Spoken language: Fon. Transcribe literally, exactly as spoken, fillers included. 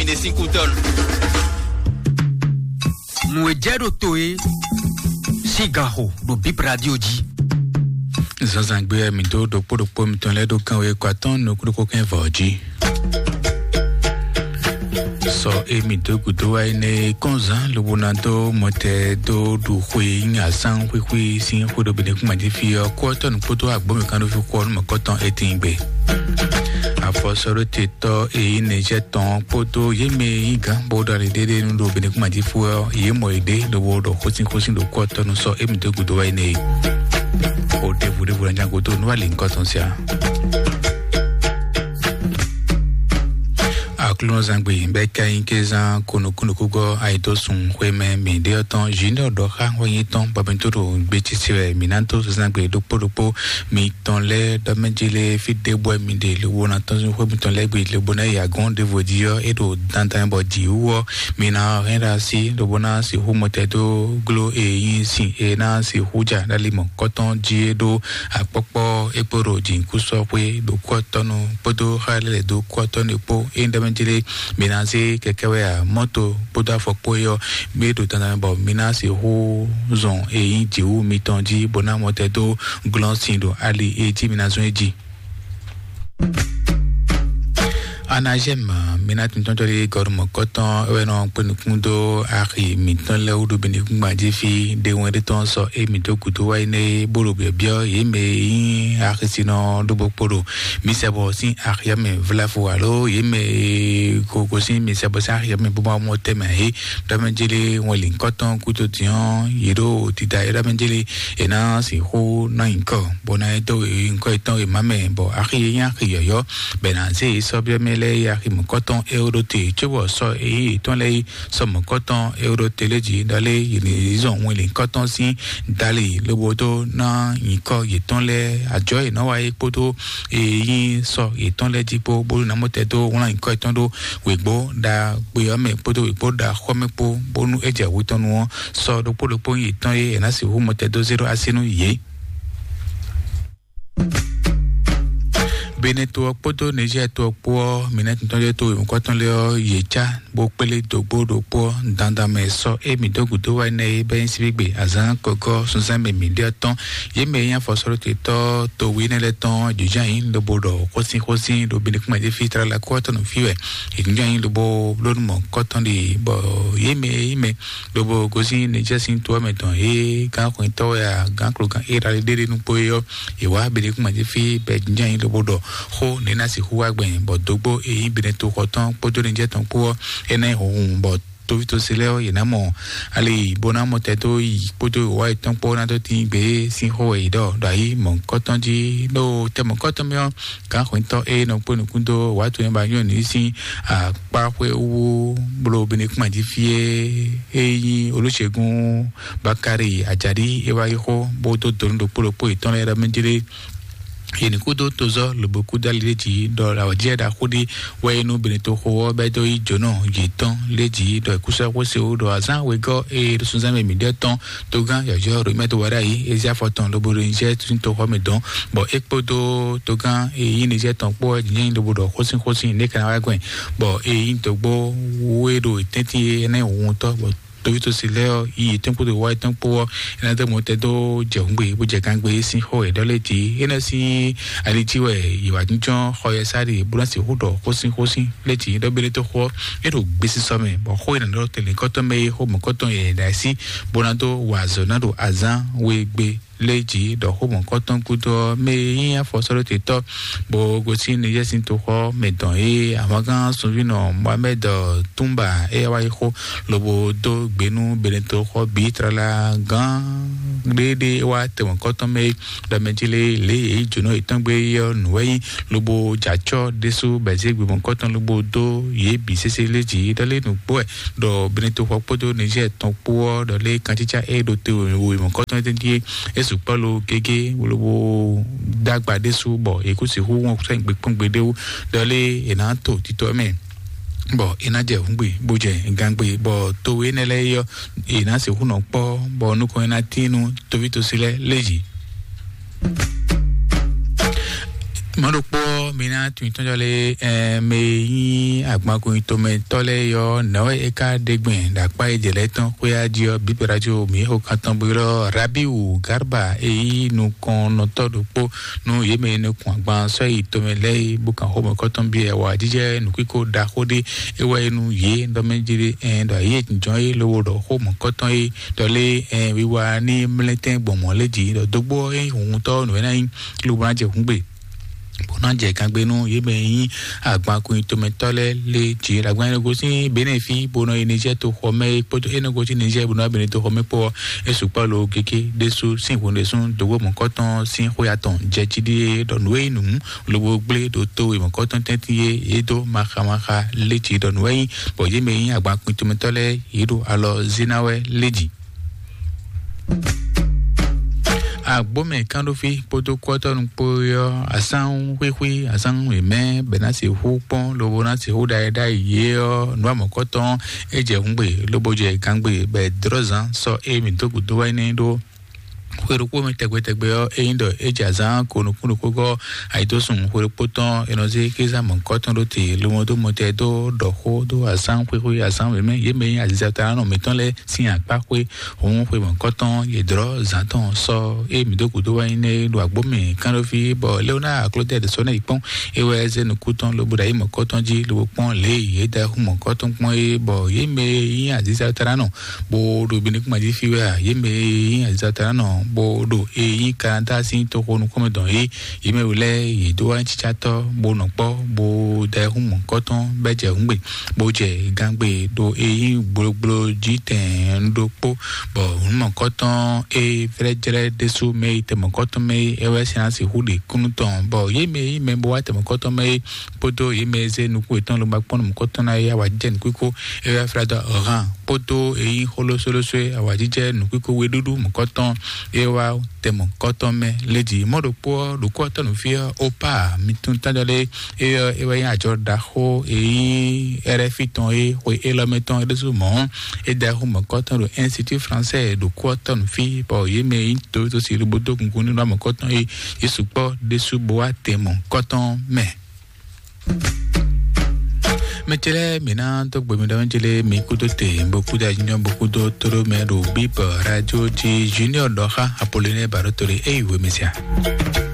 Mi ɖe sín kú tɔn. Nǔ e jɛ ɖo to e sín gan xo ɖo Bib Radio jí. Zǎnzǎngbe ɔ́, mǐ dó ɖokpó ɖokpó mitɔn lɛ́ɛ ɖó gán we kɔ atɔ́ɔ́n nukúnnú kɛ́n vɔ̌ jí. Sɔ e mǐ dó gǔdo wá énɛ́ kɔnzán lobo ná dó mɔtɛ dó ɖu xwe nyí azán xwíxwí sín xwé ɖo Benɛkúnmají fí ɔ́, kú ɔ́ tɔ́ nǔ kpódó agbǒmɛ kan ɖó fí xó ɔ́ nú mɔ̌kɔtɔn étín gbe. Afɔsɔ́ɖótetɔ́ e nyí Nizɛ́ɛ tɔn ɔ́ kpódó yě mɛ e nyí gǎn bó ɖo ali ɖéɖé nu ɖo Benɛkúnmají fí ɔ́, yě mɔ yěɖée lobo ɖɔ xósínxósín ɖo kú ɔ́ tɔ́ nu sɔ e mǐ dó gǔdo wá énɛ́ é. Xó ɖěvo ɖěvo ná nya gúdo nú wá lě nyǐkɔ tɔn siá. Aklúnɔzangbe bɛ ka nyí ké zán konukúnukúgɔ́ ayidósun xwémɛ mǐɖé ɔ́ tɔn Junior ɖɔxá wɛ nyí tɔn bɔ mi tó ɖo gbé títí wɛ mǐ ná dó zangbe ɖokpó ɖokpó mitɔn lɛ́ɛ ɖɔ mɛ jí lé fí ɖěbǔ wɛ mi ɖe lobo ná tɔ́n xwé mitɔn lɛ́ɛ gbe lobo ná yi agɔ̌n ɖěvo jí ɔ́ é ɖo dandan bɔ jǐ wú ɔ́ mi ná hɛn ɖo así lobo ná sixú mɔtɛ dó gló e nyí sin e ná sixú ja ɖ'ali mɔ̌kɔtɔn jí é ɖó akpɔ́kpɔ́ é kpo ɖo jǐnukúnsin ɔ́ xwé ɖo kú ɔ́ tɔ́ nu kpódó xá lɛ́ lɛ̌ dó kú ɔ́ tɔ́ nu kpó. Ényí ɖɔ mɛ jlé mi ná zé kɛkɛ́ wɛ a mɔ́to kpódó afɔkpó é ɔ́, mi ɖo dandan mɛ bɔ mi ná sixú zɔn e nyí jǐwú mitɔn jí bó ná mɔtɛn dó glɔ́n sin ɖo ali e jí mi ná zɔ́n é jí. Anazɛ́m mi ná tuntun tɔ́ ɖé gɔ́ ɖo mɔ̌kɔtɔn é wɛ nɔ kpé nukún dó axi mǐtɔn lɛ́ɛ wú ɖo Benɛkúnmají fí ɖé wɛn ɖé tɔn sɔ é mǐ dó gǔdo wá énɛ́ é, bó ɖo byɔ̌byɔ́ yě mɛ e nyí axisinɔ ɖó bó kpo ɖo mi sɛ bɔ sín axi ɔ́ mɛ vlafo alo yě mɛ e ko gosín mi sɛ bɔ sín axi ɔ́ mɛ bó ma mɔ tɛmɛ ǎ é. Ɖɔ mɛ jélé wɛn lǐnkɔ́tɔn gúdo din ɔ́, yě ɖo dida é ɖɔ mɛ jélé è nǎ sixú ná nyǐkɔ bó ná dó nyǐkɔ yětɔn e má mɛ bɔ axi e nyí axi yɔ̌yɔ́ bɔ è nǎ zé yě sɔ́ byɔ́ mɛ lɛ́ɛ é axi mɔ̌kɔ́tɔn Ewoɖote cóbɔ sɔ́ e nyí yětɔn lɛ́ɛ é sɔ mɔ̌kɔ́tɔn Ewoɖote lɛ́ɛ jí ɖɔ lé yě ní zɔn wɛn lǐnkɔ́tɔn sín dali lobo dó ná nyǐkɔ yětɔn lɛ́ɛ ajɔ̌ e nɔ́ wa é kpódó e nyí sɔ yětɔn lɛ́ɛ jí kpó bónú ná mɔ tɛn dó wlán nyǐkɔ yětɔn ɖó wěgbó ɖagbe ɔ́ mɛ kpódó wěgbó ɖaxó ɔ́ mɛ kpó, bónú é jɛ hwetɔnnu ɔ́ sɔ ɖokpó ɖokpó nyí yětɔn e è nǎ sixú mɔ tɛn dó zé ɖó así nú yě. Benɛto ɔ́ kpódó Nizɛ́ɛ to ɔ́ kpó ɔ́, mǐnɛtɔn lɛ́ɛ to wěmukɔ́tɔn lɛ́ɛ ɔ́, yě cá bó kplé dǒgbó ɖokpó ɔ́ dandan mɛ sɔ́ émí dó gǔdo wá énɛ́ é bɛ́ nyí síbígbe azǎn kɔgɔ́ sunzán mɛ mǐ ɖe ɔ́ tɔn. Yě mɛ e nyí afɔsɔ́ɖótetɔ́ towe énɛ́ lɛ́ɛ tɔn jǐjɔ́n ayǐ lobo ɖɔ xósínxósín ɖo Benɛkúnmají fí tlala kó ɔ́ tɔn nɔ fí wɛ. È jǐjɔ́n ayǐ lobo bló nú mɔ̌kɔ́tɔn ɖe bɔ yě mɛ e nyí mɛ lobo gosín Nizɛ́ɛ sín to ɔ́ mɛ tɔn e gǎn xwɛntɔ́ wɛ a gǎn klogán Izlayɛ́li ɖé ɖe nú kpó é ɔ́, è wǎ Benɛkúnmají fí bɔ è jínjɔ́n ayǐ lobo ɖɔ xó nɛ̌ ná sixú wá gbɛn bɔ dǒgbó e nyí Benɛtoxɔ tɔn kpódó Nizɛ́ɛ tɔn kpó ɔ́, é ná nyí hunhun bɔ toví tosi lɛ́ɛ ɔ́, yě ná mɔ ali bó ná mɔ tɛn dó yi kpódó wǎ yětɔn kpó ná dó tín gbe sín xó wɛ yě ɖɔ ɖo ayǐ mɔ̌kɔ́tɔn jí ɖó tɛ mɔ̌kɔ́tɔn mɛ ɔ́, gǎn xwɛntɔ́ e nɔ kpó nukún dó wǎ to nyɛ ba nyɔ́ nǔ sín akpá xwé wú bló Benɛkúnmají fí é, é nyí Olúṣègùn Bakari Ajadi é wá yi xó bó dó donu ɖokpó ɖokpó yětɔn lɛ́ɛ ɖɔ mɛ jlé yě ní kúdó tozɔ́ lobo kúdó ali ɖé jí ɖɔ awǎjijɛ ɖaxó ɖé wɛ é nú Benɛtoxo ɔ́ bɛ́ dó yí jǒnɔ yětɔn lé jí ɖɔ è kúsú xwé se wú ɖɔ azǎn wegɔ́ e ɖo sunzán mɛ mǐɖɛɛ tɔn togán yɔ̌yɔ́ Romɛ tó wá ɖ'ayǐ é zé afɔ tɔn lobo ɖo nyíjɛ sín toxɔ mɛ dɔn bɔ é kpódó togán e nyí Nizɛ́ɛ tɔn kpó ɔ́ nyí lobo ɖɔ xósínxósín nɛ̌ ka ná wá gbɛn bɔ e nyí dǒgbó wú é ɖo tɛ́ntin énɛ́ wuntɔ́ bɔ tovítɔ́si lɛ́ɛ ɔ́ yi yětɔn kpódó wá yětɔn kpó ɔ́, é ná dó mɔ tɛn dó jɛ hǔngbe bó jɛ gangbe sín xó e ɖɔ lɛ́ɛ jí. É ná sín ali jí wɛ yě wá jínjɔ́n xɔ yɛ sáré bó ná sixú ɖɔ xósínxósín lɛ́ɛ jí ɖɔ bé lé tó xó ɔ́, é ɖo gbesisɔ mɛ bɔ xó e nǎ ɖɔ tɛnlɛ̌nkɔ́tɔn mɛ é xó mɔ̌kɔ́tɔn yɛ ɖo así bó ná dó wa azɔ̌ ná ɖo azǎn we gbe lé jí ɖɔ xó mɔ̌kɔ́tɔn gúdo ɔ́, mɛ e nyí afɔsɔ́ɖótetɔ́ bó gosín Nizɛ́ɛ sín toxɔ mɛ dɔn é ahwangán sunvínɔ Mohamed Tumba é wá yi xó lobo dó gbe nú Benɛtoxɔ bǐ tlala gán ɖéɖé wá tɛ mɔ̌kɔ́tɔn mɛ é ɖɔ mɛ jí lé lě e yě jǒnɔ yětɔn gbé é ɔ́ nǔ wɛ nyí lobo jɛ acɔ́ ɖésú bɔ è zé gbe mɔ̌kɔ́tɔn lobo dó yě bǐ sésé lé jí ɖɔ lé nǔgbó wɛ ɖɔ Benɛtoxɔ kpódó Nizɛ́ɛ tɔn kpó ɔ́ ɖɔ lé kancícá e ɖo te wěwé mɔ̌kɔ́tɔn tɛ́ntin é é sukpɔ́ lo gégé lobo dó agba ɖésú bɔ è kú sixú wɔn sɛ́n gbe kpɔ́n gbeɖé wú ɖɔ lé è nǎ to tito ɔ́ mɛ bɔ è nǎ jɛ hǔngbe bó jɛ gangbe bɔ towe énɛ́ lɛ́ɛ é ɔ́ è nǎ sixú nɔ kpɔ́ bɔ nukɔn é ná tín nú tovítɔ́si lɛ́ɛ lé jí. Mɔ̌ ɖokpó ɔ́, Mi ná tun tɔn jɔ lé, ɛ, mɛ e nyí agbankun tomɛtɔ́ lɛ́ɛ yɔ nɛwɛ e ka ɖe gbɛn ɖo akpá e jɛ lɛ́ tɔn xwéá jí ɔ́, bíbɛ́ radio mi xo kan tɔn bó ylɔ́ Rabiu Garba e nyí nukɔnnɔtɔ́ ɖokpó nú yě mɛ e nɔ kun agban sɔ́ yi tomɛ lɛ́ɛ é, bó kan xó mɔ̌kɔ́tɔn byɔ́ wǎjijɛ nǔkíko ɖaxó ɖé é wɛ é nú yě ɖɔ mɛ jí ɖé, ɛ, ɖɔ yě jínjɔ́n é lobo ɖɔ xó mɔ̌kɔ́tɔn é ɖɔ lé, ɛ, wiwa ní mlɛ́tɛn gbɔn mɔ̌ lé jí ɖɔ dógbó é nyí huntɔ́ nǔ é ná nyí lobo ná jɛ hǔngbe bó ná jɛ gangbe nú yě mɛ e nyí agbankun tomɛtɔ́ lɛ́ɛ lé jí. Agban e nɔ gosín Benɛ́fi bó nɔ yi Nizɛ́ɛ toxo mɛ é kpódó é nɔ gosín Nizɛ́ɛ bó nɔ wá Benɛ́ toxo mɛ kpó ɔ́, é sukpɔ́ lo gégé ɖésú sín hǔn ɖésú dǒgbó mɔ̌kɔ́tɔn sín xwé atɔn jɛ jí ɖíe ɖɔ nǔ e nyí nǔ lobo gblé ɖo to e mɔ̌kɔ́tɔn tɛ́ntin e yě dó maxamaxa lé jí ɖɔ nǔ wɛ nyí, bɔ yě mɛ e nyí agbankun tomɛtɔ́ lɛ́ɛ yě ɖo alɔ zé ná wɛ lé jí. Agbómɛ kánɖófí kpódó kɔ́tɔ́nu kpó ɔ́, asán xwíxwí, asán wěmɛ bɛ ná se xú kpɔ́n lobo ná se xú ɖayɛ ɖayɛ yě ɔ́, nǔ amɔ̌kɔ́tɔn é jɛ hǔngbe lobo jɛ gangbe bɛ dlɔ́zán sɔ́ émi dó gǔdo wá ní ɖó xwe ɖokpó mɛ tɛgbɛ tɛgbɛ ɔ́, é nyí ɖɔ é jɛ azǎn ko nukún ɖokpó gɔ́ ayǐdósun xwe ɖokpó tɔn è nɔ zé kéza mɔ̌kɔ́tɔn ɖó te lobo dó mɔtɛ dó ɖɔ xó dó azǎn xwíxwí, azǎn wěmɛ yě mɛ nyí aziza talanɔ mǐtɔn lɛ́ɛ sín akpá xwé. Hǔn xwe mɔ̌kɔ́tɔn yě dlɔ́ zǎn tɔn sɔ́ é mǐ dó gǔdo wá nyí nɛ́ ɖo agbó mɛ kánɖófí, bɔ Léonard Claudel sɔ́ ná yi kpɔ́n, é wɛ zé nukún tɔn lobo ɖo ayǐ mɔ̌kɔ́tɔn jí lobo kpɔ́n lě e yě da hú mɔ̌kɔ́tɔn kpɔ́n é, bɔ yě mɛ e nyí aziza talanɔ bó ɖo binukúnma jí fí wɛ a, yě mɛ e nyí aziza talanɔ bó ɖo e nyí Kanada sín toxo nukúnmɛ dɔn é, yě mɛ wú lɛ́ɛ yě dó wá cícátɔ́ bó nɔ kpɔ́ bó da hú mɔ̌kɔ́tɔn bɛ́ jɛ hǔngbe bó jɛ gangbe ɖo e nyí gblogblo jí tɛn ɖokpó, bɔ hǔn mɔ̌kɔ́tɔn e flɛ́jlɛ́ ɖésú mɛ yi tɛmɔ̌kɔ́tɔn mɛ é wɛ sín ná sixú ɖe kúnnu tɔn, bɔ yě mɛ e nyí mɛ bó wá tɛmɔ̌kɔ́tɔn mɛ é kpódó yě mɛ e zé nukún yětɔn lomba kpɔ́n nú mɔ̌kɔ́tɔn ná é awǎjijɛ nǔkíko é wɛ flá dó Ɔhan kpódó e nyí xó lósólósó é awǎjijɛ nǔkíko weɖúɖú mɔ̌kɔ́tɔn é wá tɛmɔ̌kɔ́tɔn mɛ lé jí. Mɔ̌ ɖokpó ɔ́, ɖokpó ɔ́ tɔ́ nǔ fí ɔ́, Opa mi tún tájɔ lé é ɔ́, é wɛ nyí ajɔ ɖaxó e nyí Ɛrɛ́fi tɔn é, xwe élɔ́ mɛ tɔn é ɖésú mɔ̌ é da xú mɔ̌kɔ́tɔn ɖo Institut Français ɖo kú ɔ́ tɔ́ nǔ fí, bɔ yě mɛ e nyí towétosí lobo dó gungun nínú amɔ̌kɔ́tɔn é yě sukpɔ́ ɖésú bó wá tɛn mɔ̌kɔ́tɔn mɛ. Mɛ ce lɛ́ɛ, mǐ ná dó gbe mi ɖɔ mɛ ce lɛ́ɛ, mi kúdó te, bó kúdó anyɔ, bó kúdó tóɖó mɛ ɖo Bíbɔ Radio jí. Junior ɖɔ xá Apollinaire Barotoli, é yi wěmɛsíá.